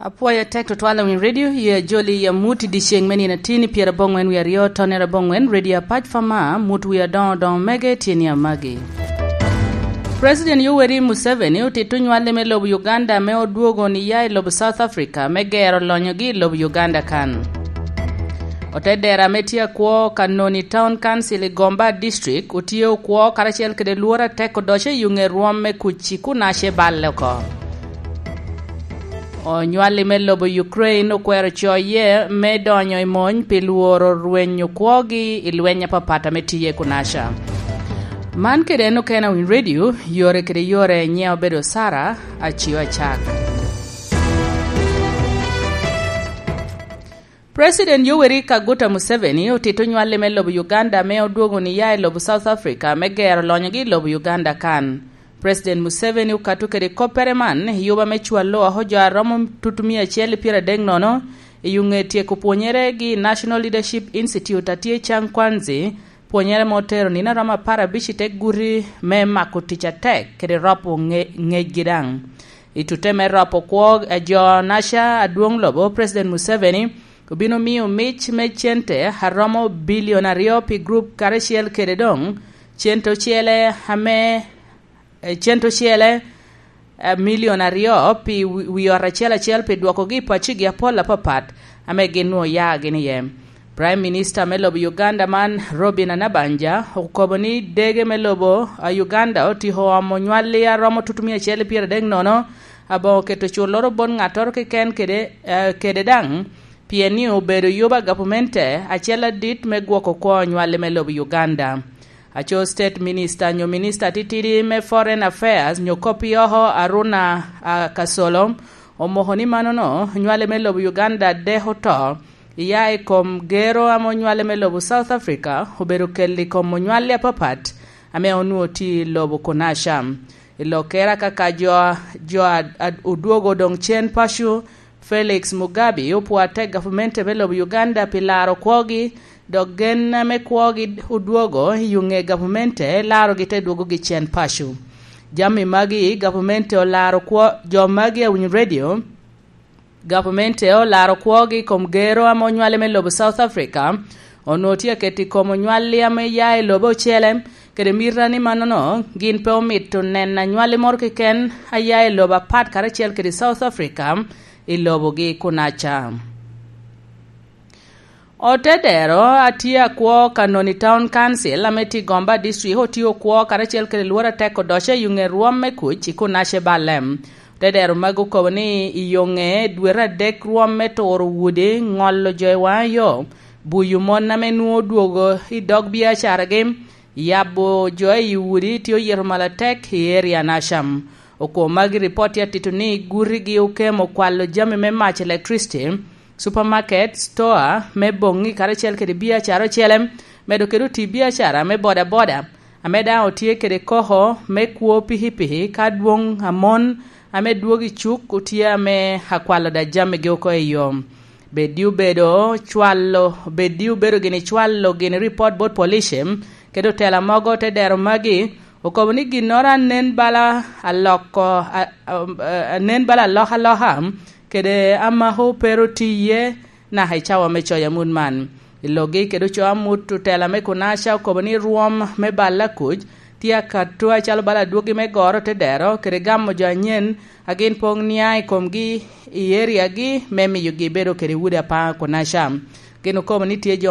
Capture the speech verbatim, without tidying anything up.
Apwoyo atek tutwal awiny redio, ye ajoli i amut i dyeceŋ me nino atin i pyeraboŋwen wie aryo, tonere aboŋwen, redio apac fama, mut wie adoŋo doŋo mege tye ni amagi. President Yoweri Museveni otito nywalli me lobo Uganda me odwogo ni ya i lobo South Africa me gero lonyogi i lobo Uganda kan. Ote dera me tye akwo Kanoni Town Council i Gomba District otye okwo karacel kede lworo atek odoco i ŋe rwom me kuc i Kunace balle oko. Onywalli me lobo Ukraine okwero coye me donyo i mony pi lworo rwenyo kwogi i lweny apapat ame tiye i Kunaca. Man kede en okene awiny redio, yore kede yore nyiŋe obedo Sara Acio Acak. President Yoweri Kaguta Museveni otito nywalli me lobo Uganda me odwogo ni ya i lobo South Africa me gero lonyogi i lobo Uganda kan. President Museveni okato kede koppere man i yuba me cwalo oko jo a romo tutumia acel i pyera dek nono i ŋe tyeko pwonyere gi National Leadership Institute a tye Changkwanzi, pwonyere ma otero nino a romo apar abic i te guti me mako tic atek kede ropo ŋe-, ŋecgi daŋ. I tute me ropo kwo a jo naca adwoŋ lobo, President Museveni obino miyo mic me cente a romo bilion aryo pi grup karacel kede doŋ cente ocele ame, eh, cente ocele, eh, milion aryo pi wi, wi ot acel acel pi dwokogi i paccigi apol apapat ame gin nwoŋo ya gin iye. Prime Minister me lobo Uganda man, Robin Anabanja, okobo ni dege me lobo a Uganda otiko omo nywalli a romo tutumia acel i pyera dek nono, aboŋo keto culloro bot ŋattoro keken kede, eh, kede daŋ, pien ni obedo yuba gavumenti acel adit me gwoko kwo nywalli me lobo Uganda. Aco State Minister nyo Minister atitidi me Foreign Affairs nyo kop i oko Aruna, ah, Kasolo, omoko ni manono nywalli me lobo Uganda dek oto, iya i kom gero ame onywalli me lobo South Africa obedo kel i kom onywalli apapat ame onwoŋo tye i lobo Kunaca. I lokere kaka jo, jo a, a, odwogo doŋ cen paco, Felix Mugabe opwo atek gavumenti me lobo Uganda pi laro kwogi, dok gen ame kwogi odwogo i ŋe gavumenti larogi te dwogogi cen paco. Jami magi gavumenti olaro kwo, jo magi awinyo redio, gavumenti olaro kwogi i kom gero ame onywalli me lobo South Africa, onwoŋo tye aketo i kom onywalli ame ya i lobo ocele, kede mita ni manono gin pe omito neno anywalli moro keken a ya i lobo apat karacel kede South Africa i lobogi Kunaca. Otedero a tye akwo Kanoni Town Council ame tye i Gomba District otye okwo karacel kede lworo atek odoco i ŋe rwom me kuc i Kunace balle. Otedero magi okobo ni i ŋe dwete adek rwom me turo udi, ŋolo jo i waŋ yo, buyo mon ame nwoŋo odwogo i dog biacaragi, yabo jo i udi tye oyito malo atek i eria Nasham. Okwo magi ripot tye atito ni gutigi okemo kwalo jami me mac, electricity, supermarket, store me boŋŋi karacel kede biacara ocele, medo kede oti biacara me bodaboda, ame daŋ otye kede koko me kwo pikipiki ka adwoŋ amon ame dwogo i cuk otye ame akwalo da jamigi oko i yo. Bed di obedo cwalo, bed di obedo gini cwalo gini ripot bot police, kede otela mogo te dero magi, okobo ni ginnoro anen bala aloko, a, a, a, anen bala alokaloka, kede amako pe ru tiye naka i cawa me coyo amut man. I logi kede oco amut, otela me Kunaca okobo ni rwom me balla kuc tye akato acalo bala adwogi me goro te dero kede gamo jo anyen a gin poŋ nia i komgi i eriagi me miyogi bedo kede udi apaŋ Kunaca. Gin okobo ni tye jo